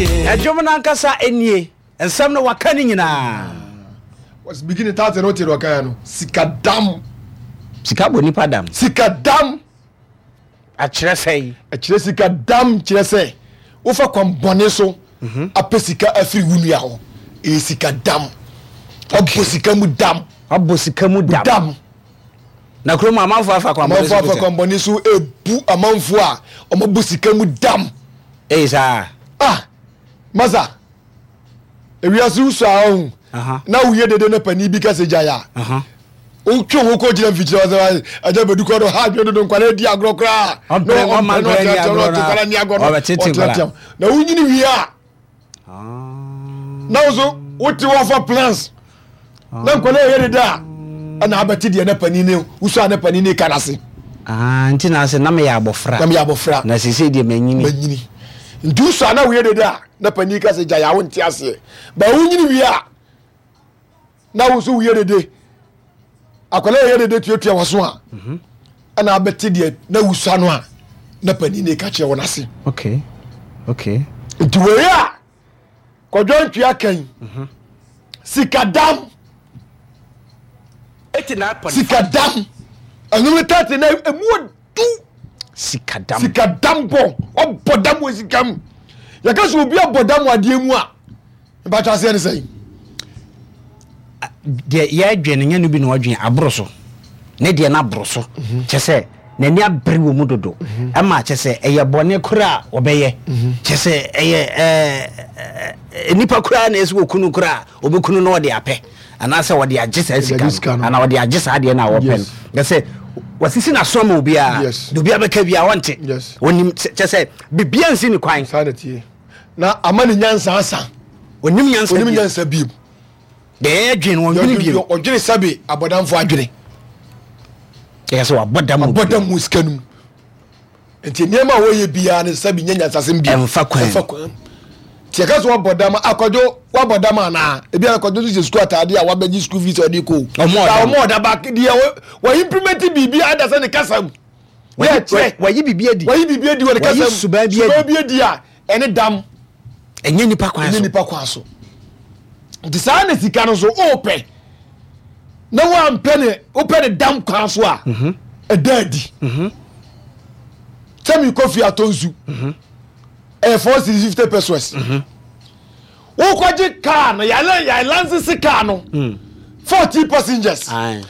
Ɛdwom no ankasa nie. Nsɛm no waka ne nyinaa. Was beginning 30 no wote deɛ ɔkaeɛ no, sika dam. Sika bɔ nipa dam. Sika dam. Akyerɛ sɛ. Ɛkyerɛ sika dam kyerɛ sɛ wofa kwan bɔne so apɛ sika afiri wo nua hɔ. Ɛyɛ sika dam. Wabɔ sika mu dam. Wabɔ sika mu dam. Dam. Na kurom amanfoɔ afa kwan bɔne so. Amanfoɔ afa kwan bɔne so ebu amanfoɔ a wɔabɔ sika mu dam. Ɛyɛ saa. Ah, masa. Ewiase wusua a ɔhu na woyɛ dede na panin bi kasa gyae a, wotwe ho kɔ gyina mfikyire hɔ sɛ agya bɛdu kɔ no ha adwene dodo, nkwadaa di agorɔ koraa na ɔmpɛ na ɔteatea na ɔte nkwadaa ni agorɔ no ɔteatea na wonyini wie a, na wo so wote wɔfa plans na nkwadaa yɛ dede a, ɛna abɛte deɛ na panin ne wusua na panin ne ka n'ase. Ah, nti na ase na meyɛ abɔfra. Na meyɛ abɔfra. Na sese deɛ manyini. Manyini. Nti wusua na woyɛ dede a, na panin ka sɛ gyae a, wonte aseɛ. Ba wonyini wie a, na wo nso woyɛ dede. Akwadaa yɛ dede tuatua w'aso a, ɛna abɛte deɛ na wusua no a na panin ne ka kyerɛ wɔn ase. Okay. Nti wei a Kwadwo Antwi kan sikadam, sikadam ɛnum tɛte na emu odu. Sikadam. Sikadam bɔ ɔbɔ dam wɔ sika mu. Yɛka sɛ obi abɔ dam wɔ adeɛ mu a, mpatwa aseɛ ne sɛn? Deɛ yɛdwen no nyɛ no bi na ɔdwen aboro so, ne deɛ no aboro so, kyɛ sɛ n'ani abere wɔ mu dodo, ɛma kyɛ sɛ ɛyɛ bɔne koraa a ɔbɛyɛ, kyɛ sɛ ɛyɛ ɛɛ nipa koraa na ɛsɛ wɔkunu koraa a ɔbɛkunu na ɔde apɛ anaasɛ ɔde agye saa sika no anaa ɔde agye saa adeɛ no a wɔpɛ no, kyɛ sɛ wasisi n'aso ama obiara de obiara bɛka biara ɔnte, ɔnim kyɛ sɛ biribiara nsi ne kwan. Na ama ne nyansa asa. Onim nyansa. Onim nyansa biem. Deɛ ɛdwen no ɔdwene biem. Ɔdwene sɛbe abɔdamfo adwene. Yɛ sɛ wabɔ dam. Wabɔ dam wɔ sika no mu. Nti nneɛma a wɔyɛ biara no sɛbe nyɛ nyansasɛm biem. Ɛmfa kwan. Ɛmfa kwan. Nti yɛka sɛ wabɔ dam, akwadwo wabɔ dam anaa? Ebi akwadwo nso hyɛ sukuu ataade a wabɛgye sukuu fees a ɔde kɔ. Ɔmo ɔda ba deɛ wɔ implement biribi ada sɛ ne kasa mu. Wayi biribi adi. Wayi biribi adi wɔ ne kasa mu. Suban bi adi. Suban bi adi a ɛne dam. Ɛnyɛ nipa kwan so. Ɛnyɛ nipa kwan so. Nti saa na sika no so ɔɔpɛ na wampɛ ne wopɛ ne dam kwan so a, ɛda adi. Sɛ mekɔ fie atɔ nsu, ɛyɛ 4 cedis 50 pesewas. Wokɔgye kaa no, yɛlansese kaa no 14 passengers.